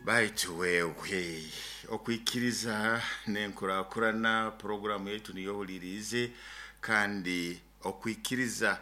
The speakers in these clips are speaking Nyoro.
Baitu wewe okwikiriza n'enkurakurana, poroguramu yaitu niyo ohuliriize. Kandi okwikiriza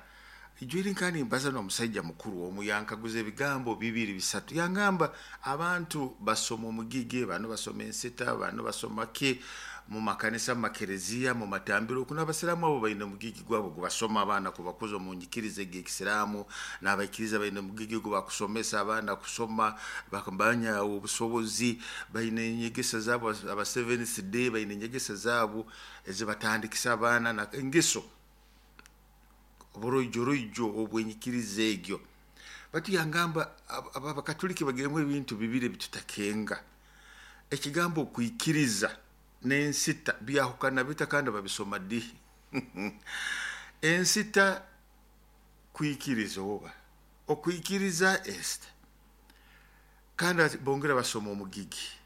ijwire, kandi mbaza n'omusaija mukuru omu, yankaguza ebigambo bibiri bisatu. Yangamba abantu basoma omugigi, bano basoma ensita, bano basoma ki mu makanisa, mu makereziya, mu matambiro oku. N'abasiraamu abo baine omugigi gwabo gubasoma abaana kubakuza omu nyikiriza eg'ekisiraamu, n'abaikiriza baine omugigi ogu bakusomesa abaana kusoma bakamanya obusobozi. Baine enyegesa zaabo, aba Seventh Day baine enyegesa zaabo ezibatandikisa abaana na engeso oburoijoroijo obwenyikiriza egyo. Batu yangamba abakatuliki bagiremu ebintu bibiri ebitutakenga: ekigambo okwikiriza n'ensita byahukana bita, kandi babisoma di? Ensita kwikiriza oba okwikiriza ensita? Kandi bongera basoma omugigi.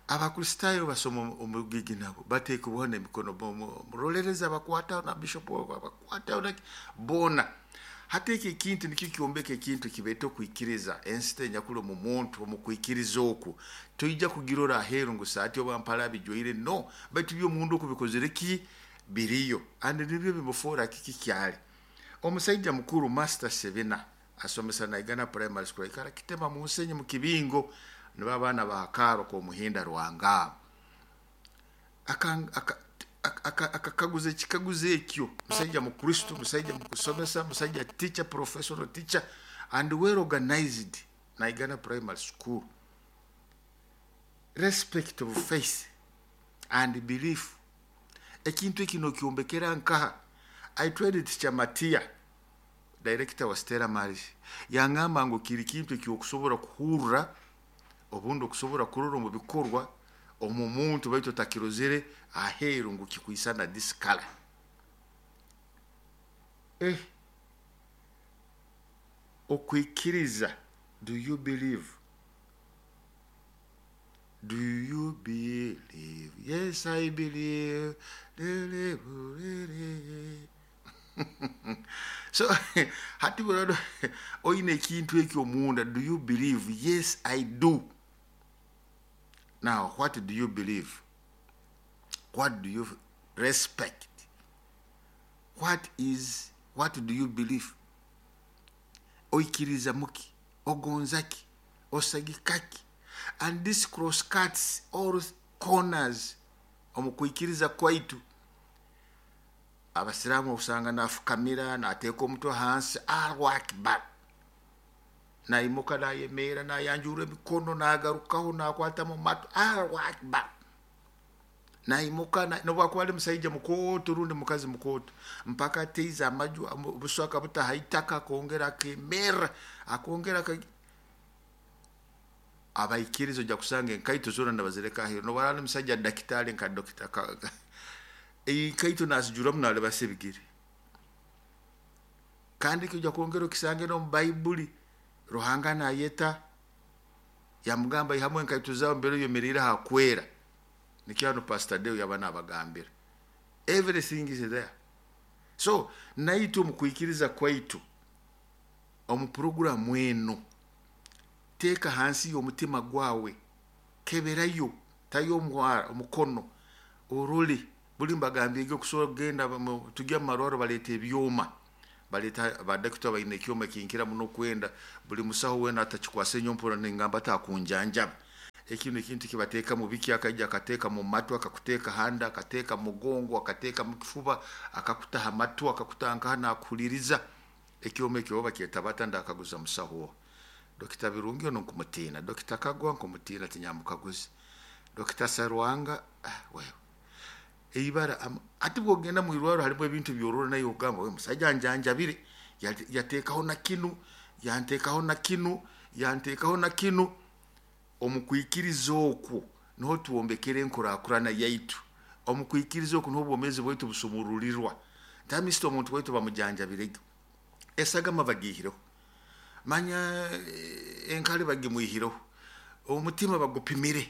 Abakristaayo basoma omugigi, nabo bateekebwaho n'emikono, murolereza bakwataho na bishop bakwataho boona. Hati eki ekintu nikyo kyombeka ekintu kibeeta okwikiriza, ensita enyakuli omu muntu. Omu kwikiriza oku toija kugirora aheeru ngu saati oba mpale abijwaire, no, baitu by'omundu oku bikozere ki biriyo, and nibyo bimufoora kiki kyali. Omusaija mukuru Master Sebina asomesa Naigana Primary School, aikara Kitema mu nsenyi mu kibingo, nibo abaana ba Kaaro k'omuhinda Rwangaabo. Akakaguza ekikaguzo ekyo. Musaija mukristo, musaija mukusomesa, musaija teacher, professional teacher and well organized, Naigana Primary School. Respect of faith and belief, ekintu eki nokyombekera nkaha? I tried teacher Matia, director wa Stella Maris, yangamba ngu kiri kintu ekyokusobora kuhurra, obundi okusobora kurora omu bikorwa omu muntu, baitu otakirozere aheeru ngu kikwisana this color. Okwikiriza, do you believe? Do you believe? Yes, I believe. So hati burado oine ekintu ekyo omunda. Do you believe? Yes, I do. Now, what do you believe? What do you respect? What do you believe? Oikiriza muki? Ogonza ki? Osagika ki? And this cross cuts all corners omu kwikiriza kwaitu. Abasiraamu osanga nafukamira, nateeka omutwe hansi, "Allahu Akbar," naimuka, nayemeera, nayanjura emikono, nagarukaho, nakwata mu matu, "Allahu Akbar," naimuka, nobwakuba ali musaija mukooto rundi mukazi mukooto, mpaka ateize amaju obuso akabuta ha itaka, akongera akemerra, akongera. Abaikiriza ojja kusanga enkaito zoona nibazireka aheeru, nobu ali musajja dakitaali nka dokita, enkaito nazijuramu, nalibasa ebigere. Kandi ojja kwongera okisange n'omu Baibuli, Ruhanga nayeta yamugamba, "Ihamu enkaito zawe mbere oyemeriire hakwera." Nikyo hanu Pastor Deo yaba nabagambira. Everything is there. So naitwe omu kwikiriza kwaitu, omu puroguramu eno, teeka hansi y'omutima gwawe, keberayo, tayo omukono orole. Buli mbagambire okusobora kugenda, tujya mu marwaro, baleeta ebyoma, baleeta badokita baine ekyoma ekinkira muno kwenda. Buli musaho weena atakikwasa enyompura, ningamba atakunjanjaba. Ekino ekintu kibateeka mu biki, akaija akateeka mu matu, akakuteeka handa, akateeka mu mugongo, akateeka mu kifuba, akakuta ha matu, akakuta nkaha, nakuhuliriza. Ekyoma ekyo oba bakyeta bata? Ndakaguza musaho Dokita Birungi ono nkumutiina, Dokita Kagwa nkumutiina, tinyamukaguzi, Dokita Sarwanga. Ah, wewe eibara. Ati bwogenda mu irwaro harimu ebintu byorora, naye ogamba, "We musajja njanjabire, yateekaho na kinu, yanteekaho na kinu, yanteekaho na kinu." Omu kwikiriza okwo niho twombekera enkurakurana yaitu. Omu kwikiriza okwo niho obwomeezi bwaitu busumururirwa. Ntamisita omuntu waitu bamujanjabirege, esagama bagiihireho, manya enkali bagimwihireho, omutima bagupimire,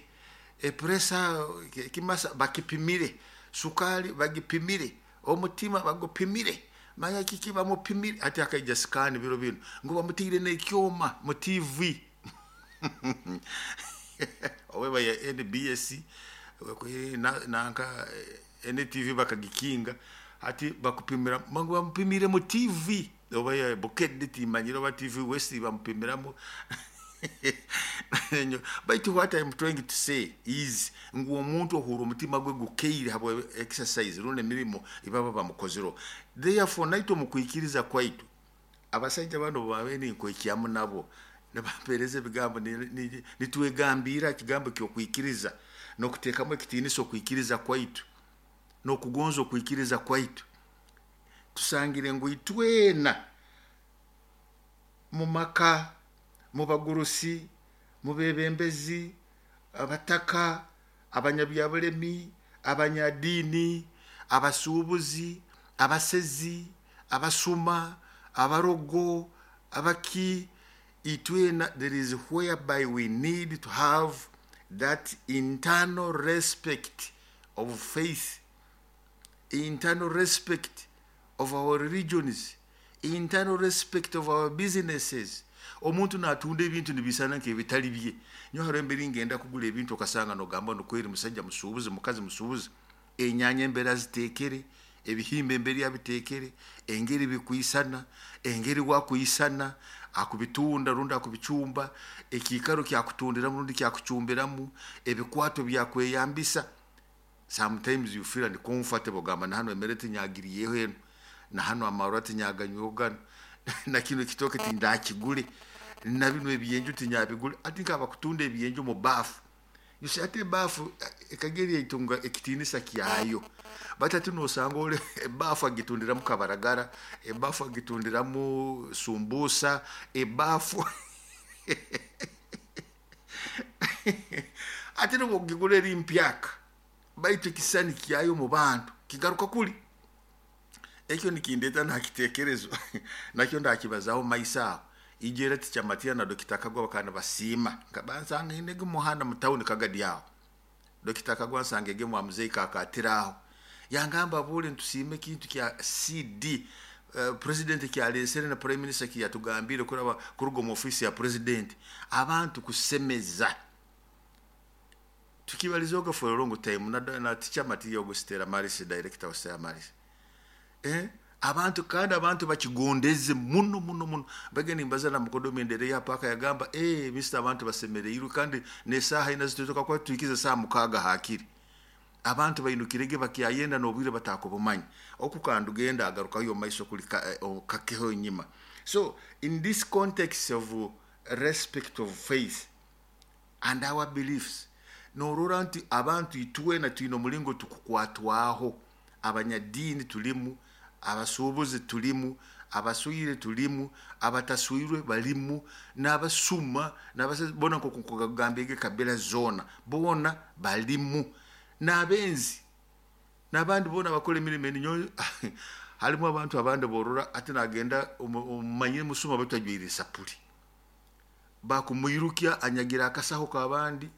epressure ekimasa bakipimire, sukaali bagipimire, omutima bagupimire, manya kiki bamupimire. Hati akaija scan biro bino ngu bamutiire n'ekyoma mu TV. Oweba ya NBS nanka NTV bakagikinga, hati bakupimira mangu bamupimire mu TV oba ya Bukedde, timanyire oba TV West bamupimiramu. Baitu what I'm trying to say is ngu omuntu ohura omutima gwe gukeire habwa exercise rundi emirimo ibaba bamukozero. Therefore, naitwe omu kwikiriza kwaitu, abasaija bano babe ninkwekyamu nabo nibampereza ebigambo, nitwegambira ekigambo ky'okwikiriza n'okuteekamu ekitiinisa okwikiriza kwaitu n'okugonza okwikiriza kwaitu. Tusangire ngu itwena mu maka, mu bagurusi, mu bebembezi, abataka, abanyabyabulemi, abanyadiini, abasuubuzi, abasezi, abasuma, abarogo, abaki, itwena there is whereby we need to have that internal respect of faith, internal respect of our religions, internal respect of our businesses. Omuntu natunda ebintu nibisana nk'ebitali bye. Nyo hariho emberi ngenda kugula ebintu, okasanga nogamba nokweri musajja musuubuzi, mukazi musuubuzi, enyanya embera zitekere, ebihimba emberi abitekere, engeri bikwisana, engeri wakwisana akubitunda rundi akubicumba, ekiikaro kyakutundiramu rundi kyakucumbiramu, ebikwato byakweyambisa. Sometimes you feel uncomfortable, ogamba na hano emere tinyagiriyeho eno, na hano amarwa tinyaganyweho gano, na kino ekitooke tindakigule, na bino ebyenju tinyabigule. Ati nkabakutunda ebyenju mu baafu. You see, ate ebaafu ekageri eitunga ekitiinisa kyayo, but ati nosanga ole ebaafu agitundiramu kabaragara, ebaafu agitundiramu sumbusa, ebaafu ate nobwogigula eri mpyaka, baitu ekisani kyayo mu bantu kigaruka kuli ekyo. Nikindeeta nakitekerezo nakyo ndakibazaho maiso aho. Ijera tikyamatiya na Dokita Kagwa bakana basiima nkabansanga inege muhanda mu tawuni Kagadi aho. Dokita Kagwa nsanga ege mwa muzeyi kakatira aho, yangamba bule ntusiime ekintu kya CD president kyalesere na prime minister kiyatugambire kuraba kuruga omu ofisi ya president, abantu kusemeza. Tukibalizoga for a long time na teacher Matiya ogo, Stella Maris, director wa Stella Maris, abantu kandi abantu bakigondeze muno muno muno. Bageni mbaza na mukodomi endere ya paka, yagamba, "Mr, abantu basemereirwe." Kandi nesaha ina zitutoka kwa tuikiza saa 6 hakiri abantu bainukirege bakyayenda n'obwire batakubumanya okukanda ugenda agarukayo maiso kuli kakeho enyima. So in this context of respect of faith and our beliefs, norora nti abantu itwena twine omulingo tukukwatwaho. Abanyadiini tulimu, abasuubuzi tulimu, abaswire tulimu, abataswirwe balimu, n'abasuma n'abasezi bona, nkokugambye kabila zona bona balimu, n'abenzi n'abandi bona bakora emirimo eninyo. Harimu abantu abandi borora ati nagenda omumanyire musuma batajwire esapuri, bakumwirukya anyagira akasaho k'abandi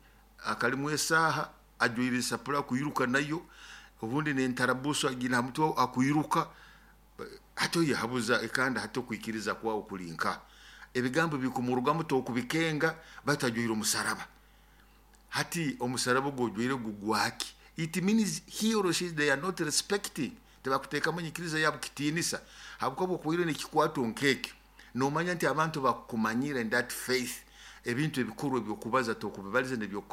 akalimu esaaha, ajwire esapuri akwiruka nayo, obundi nentarabuso agina ha mutwe akwiruka. Hati oyehabuza kandi hati okwikiriza kwawe kuli nka ebigambo bikumurugamu tokubikenga, batajwire omusaraba. Hati omusaraba ogwo gugwaki? It means he or she, they are not respecting, tebakuteekamu enyikiriza yabo kitiinisa, habwokuba okuire nekikwato nkekyo nomanya nti abantu bakumanyira in that faith. Ebintu ebikuru ebyokubaza tokubibaliza nebyokukora.